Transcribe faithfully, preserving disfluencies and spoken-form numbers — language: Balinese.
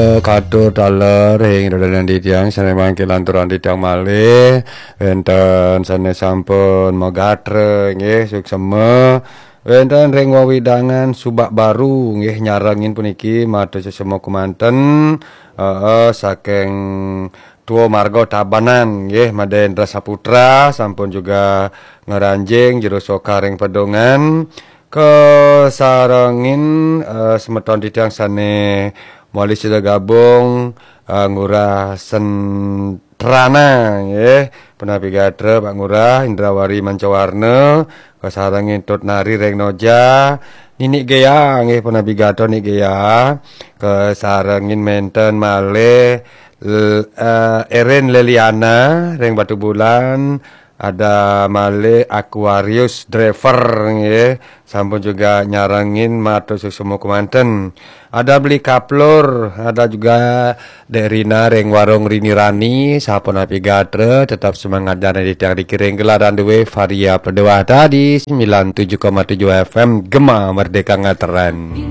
Katur taler ring dadanan titiang sane mangkin lanturang titiang malih, wenten sane sampun magatra nggih suksema, wenten ring wewidangan Subak Baru nggih nyarengin puniki matur suksema kemanten, heeh, saking Tua Marga Tabanan nggih, Madendra Saputra sampun juga ngranjing jero soka ring pedungan, kasarengin, eh, semeton titiang sane malih sida gabung, eh, Ngurah Sentrana nggih, punapi gatra Pak Ngurah, Indrawari Mancawarna, kasarengin Tut Nari ring Noja, Nini Gea nggih, punapi gatra Nini Gea, kasarengin menten malih l-, eh, Erin Leliana ring Batubulan, ada malih Aquarius Driver nggih, sampun juga nyarengin matur suksema kemanten. Ada Beli Kaplur, ada juga Dek Rina ring Warung Rini Rani, sapunapi gatra, tetap semangat jana titiang dikiring gelaran duwe Varia Peduah tadi, sembilan tujuh koma tujuh F M Gema Merdeka Ngatren.